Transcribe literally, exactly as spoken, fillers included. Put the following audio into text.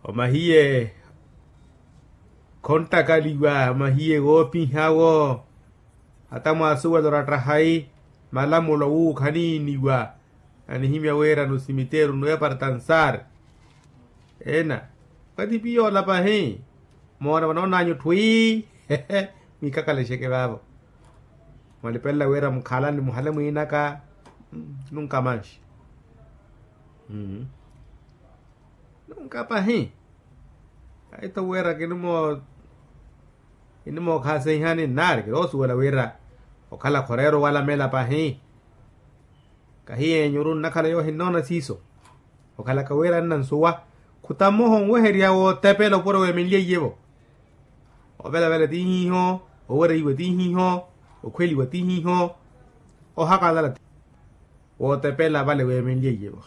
Omahiye khontakaliwa omahiye woopihawo. Hata mwaasuwela orattahayi malamulo wuukhaniiniwa. Anihimya wira nusimiteru nuwepartansar ena. Okati piyoola pahi moona vanoonanyu thwii. Mwiikakalexeke vaavo mwalipelela wira mukhalani muhale mwiinaka. Nunka manxi. Nunka pahi. Aitho wira kinimo kinimookhaasehihani nnaari kiroosuwela wira okhala khoreera owalamela pahi. Kahiyenyu orunnakhala yoohinnoona siiso. Okhalaka wira nnansuwa khutamoho onweherya wootepela opuro weemenlye iyevo. Ovelavela ti hiiho. Owereiwa ti hiiho. Okhweliwa ti hiiho. Ohakalala ti wootepela vale weemenlye iyevo.